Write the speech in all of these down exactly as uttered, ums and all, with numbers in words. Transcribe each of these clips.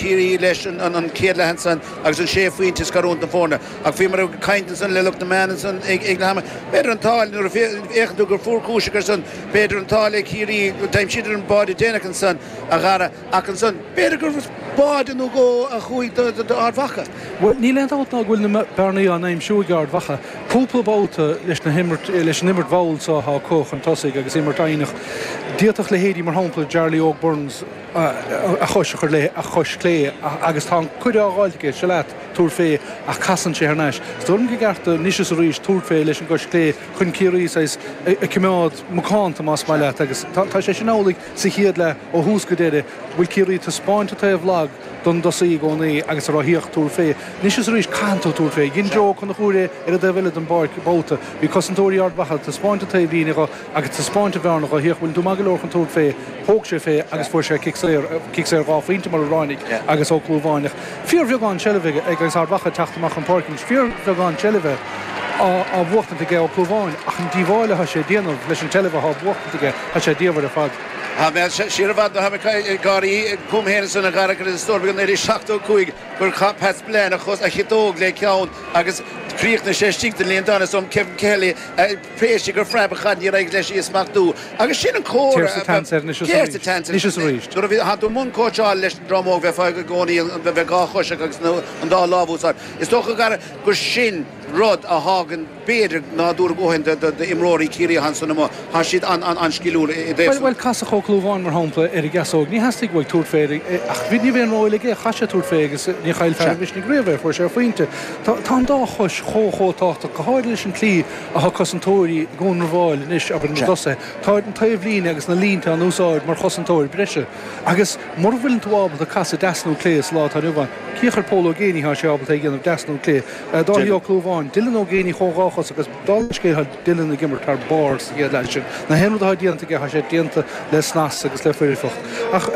Ciarraí leis an, an, an chéad leath ansan agus an sé phointe scarúint na foirne. Ach bhíomar ag caint ansan le lucht na meán ansan ag, ag leath ama. B'fhéidir an t-ádh nuair a fhéachann tú gur fuair cúiseach ar son, b'fhéidir an t-ádh le Ciarraí, d'aimsíodar an báide déanach ansan a Dhara ach ansan b'fhéidir gur báide nó dhó a chuaigh do, do, do Ard Mhacha. Bhuel, níl aon dabht ná go bhfuil na bearnaí á n-aimsiú ag Ard Mhacha. Cúpla babhta leis na himirt, leis an imirt mhall seo atá acu chun tosaigh agus imirt fhoighneach. D'fhéadfadh leithéidí mar shampla Jarly Óg Burns a chois a chur le a chois clé agus tá an cuireadh á fháilt aige seo leat tabhair fé ach casann sé thar n-ais. Is dóigh liom go gceart anois is arís tabhairt fé leis an gcois clé chun Ciarraí saghas a choimeád macánta más maith leat agus tá sé sin amhlaidh sa chéad leath ó thús go deireadh bhfuil Ciarraí taispeáint an taobh lag don dtosaí i gcónaí agus a rá thíocht tabhair fé. Anois is arís caitheann tú tabhairt fé. Dhein Joe Ó Conchúir é ar an dtaobh eile den bpáirc babhta. Bhí cosantóirí Ard Mhacha taispeáint an taobh líne dho agus taispeáint an bhearna dho thíocht bhfuil tú maith go leor chun tabhairt fé. Thóg sé fé agus fuair sé cic saor cic saor dhá phointe mar a ráinig agus Ó Clúmháin. Fíorbheagán seilbhe ag agus Ard Mhacha teacht amach an pháirc anois fíorbheagán seilbhe á á bhuachtaint aige Ó Clúmháin ach an díobháil atá sé déanamh leis an tseilbh atá buachtaint aige tá sé diamhair ar fad. Tá mé siar i bhfad ó tháinig gáirí chugam féin ansan a Dhara agus is dóigh go naoi déag seachtó cúig gur chaith Pat Spillane a chos a chiotóg le ceann agus chríochnaigh sé istigh den líontán is um Kevin Kelly pléiste gur phreab a chaid níor éirigh leis í a smachtú agus sin an comhartha Céard sa tseans air anois is Céard sa arís. tseans Anois is arís. Nuair a bhí tá tú i mbun cóitseáil leis an dream óg bheifeá i gcónaí bheith dhá chois agus an dá lámh úsáid. Is dócha Dhara gur sin rud a thagann b'fhéidir nádúr go d'imreoirí Ciarraí ansan amuigh tá siad an-an-sciliúil i Well well casadh Ó Clúmháin mar shampla ar an gceasóg ní theastaigh uaidh tabhairt fé ach bhí ní bhíonn róil aige chaith sé tabhairt fé agus ní chaill fear an Mhisnigh riamh é fuair sé phointe. Tá tá an dá chois chomh chomh tábhachtach go háirithe leis an tslí atá cosantóirí i gcónramháil anois abair na dtosaithe. Tá an taobh líne agus na línte an úsáid mar chosantóir breise. Agus mura bhfuileann tú ábalta casadh deas nó clé sa lá atá inniu ann. Cíoch ar Pól Ó Géibheannaigh tá sé ábalta é a dhéanamh deas nó clé. Dáithí Ó Clúmháin, Dylan Ó Géibheannaigh chomh dhá chos agus dála scéil Dylan ag imirt thar barr sa chéad leath sin. Na haon rud atá déanta aige tá sé déanta le snas agus le foirfeacht. Ach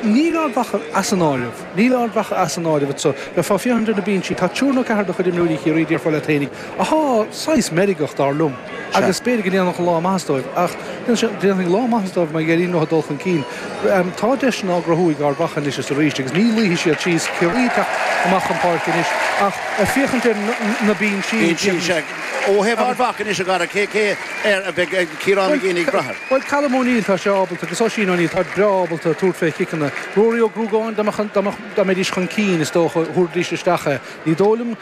níl Ard Mhacha as an áireamh. Níl Ard Mhacha as an áireamh so le fá féachaint ar na binsí tá triúr nó ceathrar de chuid imreoirí Chiarraí déarfá leat féinig athá saghas meirgeach dar liom. Agus b'fhéidir go ndéanfadh an lá maitheas dóibh ach déanfaidh lá maitheas dóibh mar ghéirín no dul chun cinn. Tá deiseanna á gcruthú ag Ard Mhacha anois is arís agus ní luífidh siad síos Ciarraí teacht amach an páirc anois ach féachaint ar na binsí Ó thaobh Ard Mhacha anois a Dhara cé cé ar a bheidh Ciarán Mac Géibheannaigh ag brath air. Well Callum O'Neill tá sé ábalta agus Oisín O'Neill tá breá ábalta tabhairt fé chiceanna. Rory Ó Gruagáin dá mbeidís chun cinn is dócha thabharfaidís isteach é. Ní dóigh liom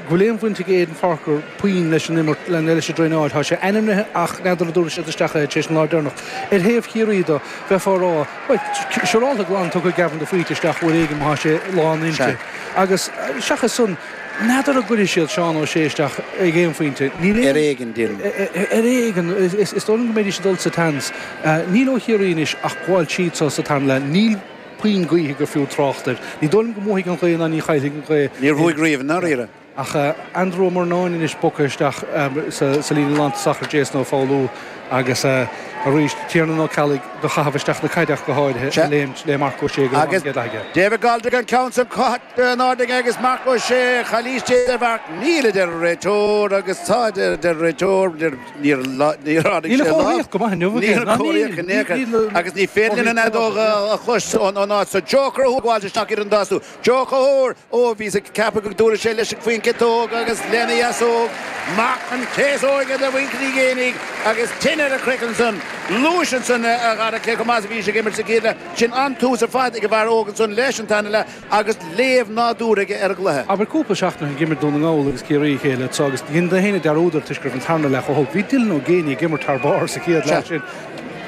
go bhfuil aon bhaint ag Aidan Forker puinn leis an imirt le leis an dtraenáil. Tá sé ainmnithe ach n'fheadar an dtabharfaidh siad isteach é tar éis an lá deireanach. Ar thaobh Chiarraí dó bheifeá ag rá siúrálta glan tugtha Gavin de Faoite isteach uair éigin má tá sé lán inti. Agus seachas san n'fheadar an gcuirfidh siad Seán Ó Sé isteach ag aon phointe. Níl Ar éigean déarfainn. Ar éigean is dóigh liom go mbeidís ag dul sa tseans. Níl ó Chiarraí anois ach gabháil tríd so sa tarna leath. Níl puinn gaoithe gur fiú trácht air. Ní dóigh liom go mbuafaidh an ghaoth ná ní chaillfidh an ghaoth. Níor bhuaigh riamh i ndáiríre. Ach Andrew Ó Murnáin anois bogtha isteach sa líne lántosach ar Jason Ó Foghlú agus arís Tiernan Ó Ceallaigh do chaitheamh isteach na caide ach go háirithe a léimt le Marc Ó Sé go Agus an chéad aige. David Broderick an ceann san caite in airde aige agus Marc Ó Sé calaois ar Mharc níl a deir an réiteoir agus tá a deir an réiteoir níor níor ardaigh Níl sé a lámh. chomharthaíocht go maith inniu aige. Níl Ná comharthaíocht níl in aon chor. níl Agus ní féidir linn an fheadóg a chlois ón áit so Joe Conchúir gabháil isteach ar an dá sú. Joe Conchúir ó bhí ag ceapadh go dtabharfaidh sé leis faoin gciotóg agus lena dheasóg amach an chéasóige de mhuintir Uí Ghéibheannaigh agus tine ar a chraiceann ansan luais ansan a Dhara cé chomh maith is a bhí sé ag imirt sa gcéad leath. Sin an tús ar fad ag an bhfear óg ansan leis an tarna leath agus léamh nádúrtha aige ar an gcluiche. Abair cúpla seachtain ag imirt Dún na nGall agus Ciarraí a chéile so agus dhein na héinne dearúd air toisc go raibh an tarna leath chomh holc. Bhí Dylan Ó Géibheannaigh ag imirt thar barr sa chéad leath sin.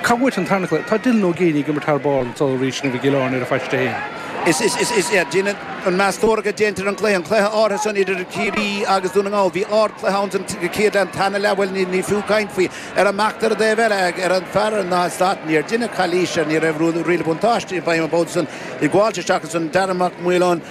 Cá bhfuil an tarna cluiche? Tá Dylan Ó Géibheannaigh ag imirt thar barr anseo arís i gCill Airne ar a phaiste féin. Is is is is déanann an meastóireacht a déantar an cluiche an cluiche áirithe san idir Ciarraí agus Dún na nGall. Bhí ardchluiche ann san chéad leath an tarna leath bhuel ní ní fiú caint faoi ar an mbeacht ar an dtaobh eile ar an fear ná stad níor deineadh calaois air ní raibh riail buntáiste i bhfeidhm an babhta san ag gabháilt isteach ansan Darren Mac Maoláin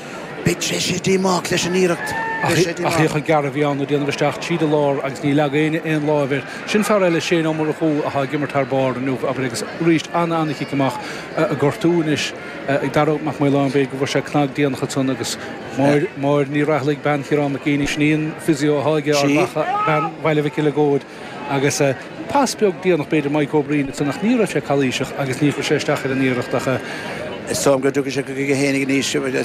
Beidh sé díomách leis an iarracht. Beidh sé Ach díomách. théadh an gearradh a bhí ann ag déanamh isteach tríd an lár agus ní leag éinne aon láimh air. Sin fear eile Shane Ó Murchú atá ag imirt thar barr inniu abair agus arís ana ana chic amach a gortú anois ag Darragh Mac Maoláin b'fhéidir go bhfuair sé cnag déanach ansan agus Máire Máire Ní Raghallaigh bean Chiarán Mac Géibheannaigh sin í an physio atá aige Ard Sí. Mhacha bean Bhaile Mhic Eileagóid agus pas beag déanach b'fhéidir Mike Ó Broin ansan ach ní raibh sé calaoiseach agus ní chuir sé isteach ar an iarracht ach Is dóigh go dtiocfaidh sé chuige féinig anois.